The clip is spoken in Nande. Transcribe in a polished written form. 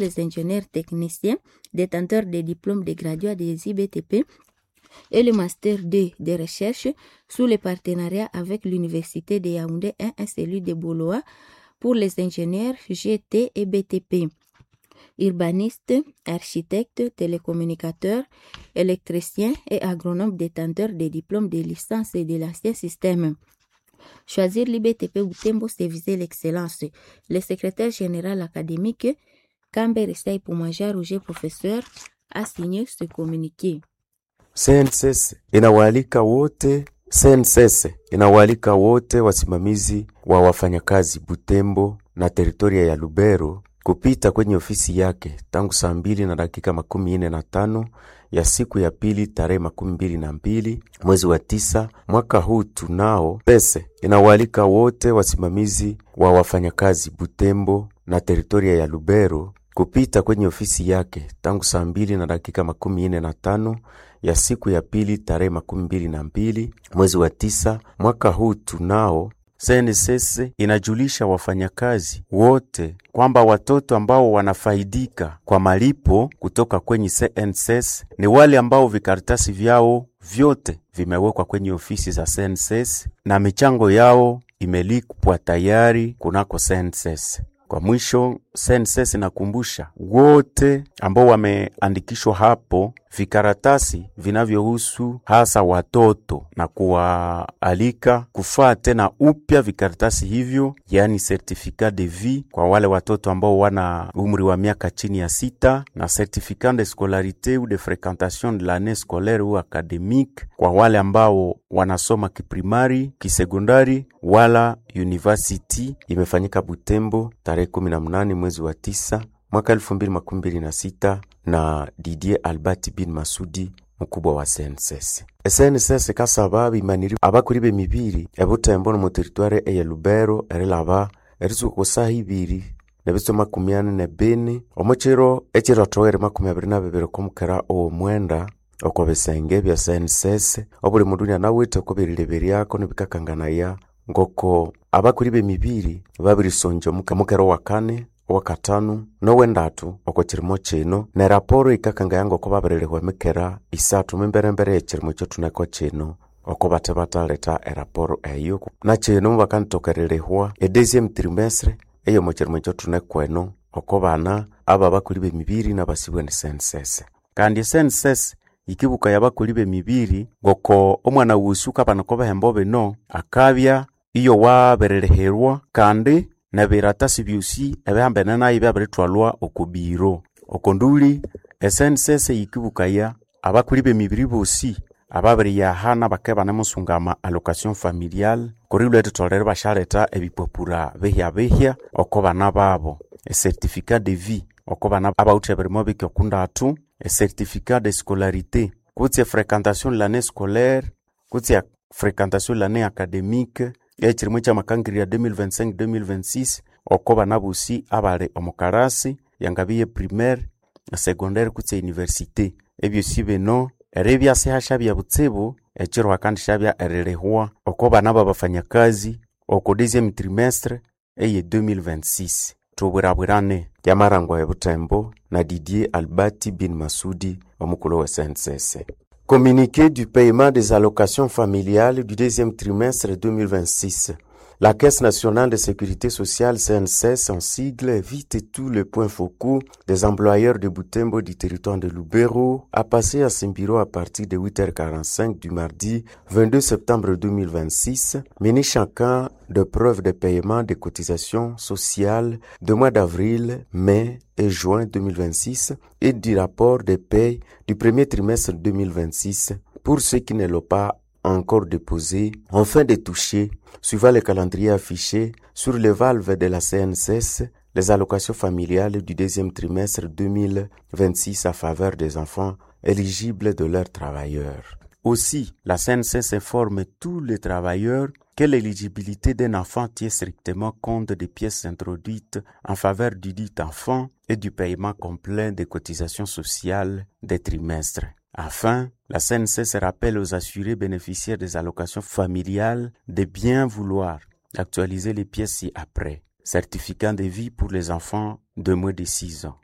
Les ingénieurs techniciens, détenteurs des diplômes de graduats des IBTP et le Master 2 de recherche sous le partenariat avec l'Université de Yaoundé 1 et celui de Boloa pour les ingénieurs GT et BTP. Urbanistes, architectes, télécommunicateurs, électriciens et agronomes détenteurs des diplômes de licence et de l'ancien système. Choisir l'IBTP Butembo, c'est viser l'excellence. Le secrétaire général académique, Kamber Poumaja Roger, professeur, a signé ce communiqué. CNSS inawaalika wote CNSS inawaalika wote wasimamizi wa wafanyakazi Butembo na teritoria ya Lubero kupita kwenye ofisi yake tangu saa 2:45 ya siku ya pili tarehe 22 mwezi wa 9 mwaka huu. Tunao pese inawaalika wote wasimamizi wa wafanyakazi Butembo na teritoria ya Lubero kupita kwenye ofisi yake tangu saa 2:45 ya siku ya pili tarehe 22 mwezi wa 9 mwaka huu. Tunao CNSS inajulisha wafanyakazi wote kwamba watoto ambao wanafaidika kwa malipo kutoka kwenye CNSS ni wale ambao vikaratasi vyao vyote vimewekwa kwenye ofisi za CNSS na michango yao imelipwa tayari kunako CNSS. Kwa mwisho, CNSS inakumbusha wote ambao wameandikishwa hapo vikaratasi vinavyohusu hasa watoto na kuwaalika kufaa tena upya vikaratasi hivyo, yaani certificat de vie kwa wale watoto ambao wana umri wa miaka chini ya 6 na certificat de scolarité ou de fréquentation de l'année scolaire ou académique kwa wale ambao wanasoma kiprimari, kisekondari wala university. Imefanyika Butembo tarehe 18 mwezi wa 9 mwaka 2026 na Didier Albert bin Masudi mkubwa wa CNSS. SNSS kasaba bimaniri abakuri b'emibiri ebutembo mu territoire eye Lubero erilaba erisuka kusaha 2 nebitso 44 omuchiro ekirotowere 22 komukera ow'omwenda oko bisenge bya CNSS obuli mundu nyanawithe oko birileberyako nibikakanganaya ngoko abakuri b'emibiri babirisonja mukero wa kane, owakatanu nowendatu oko kirimo kino neraporo ikakangaya ngoko babirilihwa emikera 3 mimberembere y'ekirimo ekyothuneko kino oko bathe bathaletha eraporo eyo na kino mubakanithokererihwa edeuxième trimestre eyomo kirimo ekyothuneko eno oko bana aba abakoli b'emibiri nabasibwe ni CNSS. Kandi CNSS yikibuka y'abakoli b'emibiri ngoko omwana wusu kabana ko bihembo bino akabya iyo wabirilihirwa kandi nebiratasi byosi ebihambene nayo byabirithwalwa oko biro. Oko nduli SNSS yikibukaya abakoli b'emibiri bosi ababiriyahana bakabya ibanemusungama allocation familiale kuri lwetitholere ibasyaletha ebipapura bihya-bihya oko bana babo, ecertificat de vie oko bana abawithe ebirimo bike oku ndatu, ecertificat de scolarité kutse efréquentation de l'année scolaire kutse fréquentation de l'année académique ekirimo ekyamakangirya 2025-2026 oko bana bosi abali omu karasi yangabya primaire, secondaire kutse université. Ebyosi bino eribya sihashabya butsibu ekiro hakandishabya erilihwa oko bana babafanyakazi oko deuxième trimestre eye 2026. Thubwirabwirane yamarangwa ebutembo na Didier Albert bin Masudi omukulhu we CNSS. Communiqué du paiement des allocations familiales du deuxième trimestre 2026. La Caisse nationale de sécurité sociale CNSS en sigle évite tous les points focaux des employeurs de Butembo du territoire de Lubero à passer à Simbiro à partir de 8h45 du mardi 22 septembre 2026, muni chacun de preuves de paiement des cotisations sociales de mois d'avril, mai et juin 2026 et du rapport de paie du premier trimestre 2026 pour ceux qui ne l'ont pas encore déposé, enfin de toucher, suivant le calendrier affiché sur les valves de la CNSS, les allocations familiales du deuxième trimestre 2026 à faveur des enfants éligibles de leurs travailleurs. Aussi, la CNSS informe tous les travailleurs que l'éligibilité d'un enfant tient strictement compte des pièces introduites en faveur du dit enfant et du paiement complet des cotisations sociales des trimestres. Enfin, la CNSS rappelle aux assurés bénéficiaires des allocations familiales de bien vouloir actualiser les pièces ci-après. Certificat de vie pour les enfants de moins de 6 ans.